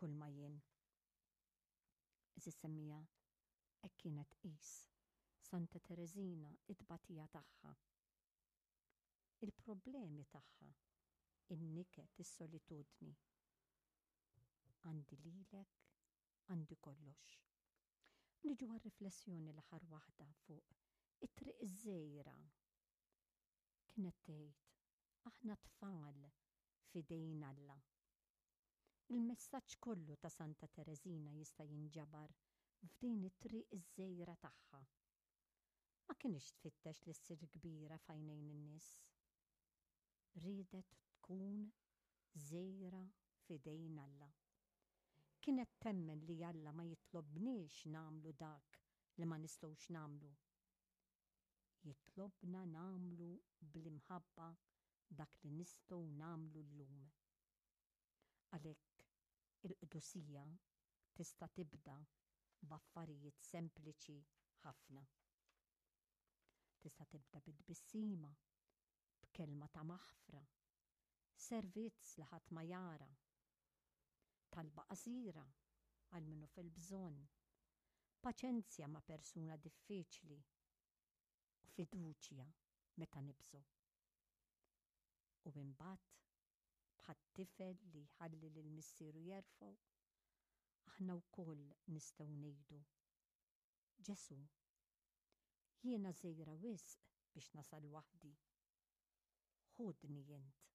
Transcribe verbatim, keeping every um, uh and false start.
Kull ma jien. Għeżież semmiegħa, hekk kienet tqis Santa Tereżina it-tbatija tagħha. Il-problemi tagħha, in-niket, is-solitudni. Għandi lilek, għandi kollox. Niġu għal-riflessjoni, l-aħħar waħda, fuq it-triq iż-żgħira. Kienet tgħid: "Aħna tfal f'idejn Alla." Il-messaġġ kollu ta' Santa Tereżina jista' jinġabar f'din it-triq iż-żgħira tagħha. Ma kinitx tfittex li ssir kbira f'għajnejn in-nies. Riedet tkun żgħira f'idejn Alla. Kienet temmen li Alla ma jitlobniex nagħmlu dak li ma nistgħux nagħmlu. Jitlobna nagħmlu bl-imħabba dak li nistgħu nagħmlu llum. Għalhekk il-qdusija tista' tibda b'affarijiet sempliċi ħafna. Tista' tibda bit-tbissima, b'kelma ta' maħfra, servizz li ħadd ma jara, talba qasira għal min hu fil-bżonn, paċenzja ma' persuna diffiċli u fiduċja meta nibżgħu. U imbagħad, bħat-tifel li jħalli lil missieru jerfgħu, aħna wkoll nistgħu ngħidu: "Ġesu, jiena żgħira wisq biex nasal waħdi. Ħudni int."